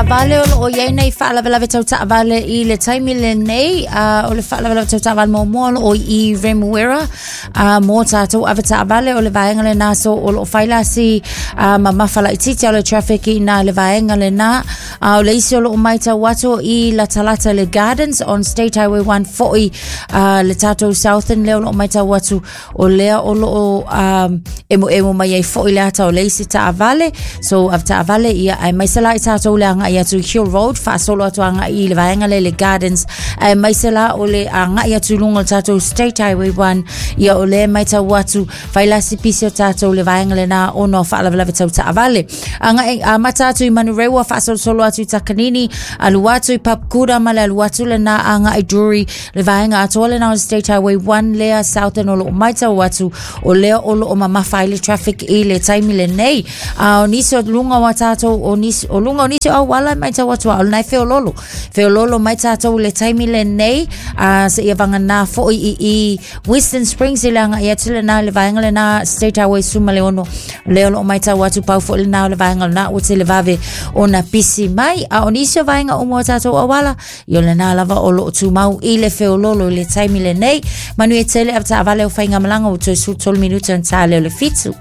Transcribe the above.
taavale o loo i ai nei faalavelave tau taavale i le taimi lenei. O le faalavelave tau taavale muamua o loo i Remuera mo tatou avetaavale o le vaega lena. So o loo fai la si mamafa laitiiti o le traffic i ina le vaega lena. A o le isi o loo maitau atu i latalata le Gardens on State Highway 1 foi le tatou Southern lea o loo maitau atu o lea o loo emoemo mai ai foi le ata o le isi taavale. So avetaavale ia, aemaise la i tatou le agai atu i Hill Road faasolo atu agai i le vaega lea le Gardens, aemaise la o le agai atu i luga o le tatou State Highway 1. Ia o lea maitau atu fai la si pisi o tatou le vaega lena ona o faalavelave tau taavale. Agai amata atu i Manurewa faasolosolo atu i Takanini, alu atu i Papakura ma le alu atu lena agai Drury, le vaega atoa lena o State Highway 1 lea Southern o loo maitau atu o lea o loo mamafa ai le traffic i le taimi lenei. A o nisi o luga o a tatou o nisi o luga o nisi o auala e maitau atu a o lena e feololo feololo mai tatou i le taimi lenei, a seia vagana foi i Western Springs i le agai atu lena i le vaega lena State Highway 16 lea o loo maitau atu pau foi lena o le vaega lena ua tele vave ona pisi mai. A o nisi o vaega uma o tatou auala ia o lena lava o loo tumau i le feololo i le taimi lenei. Manuia tele avetaavale o faigamalaga ua toe 13 minute ona ta lea o le 7.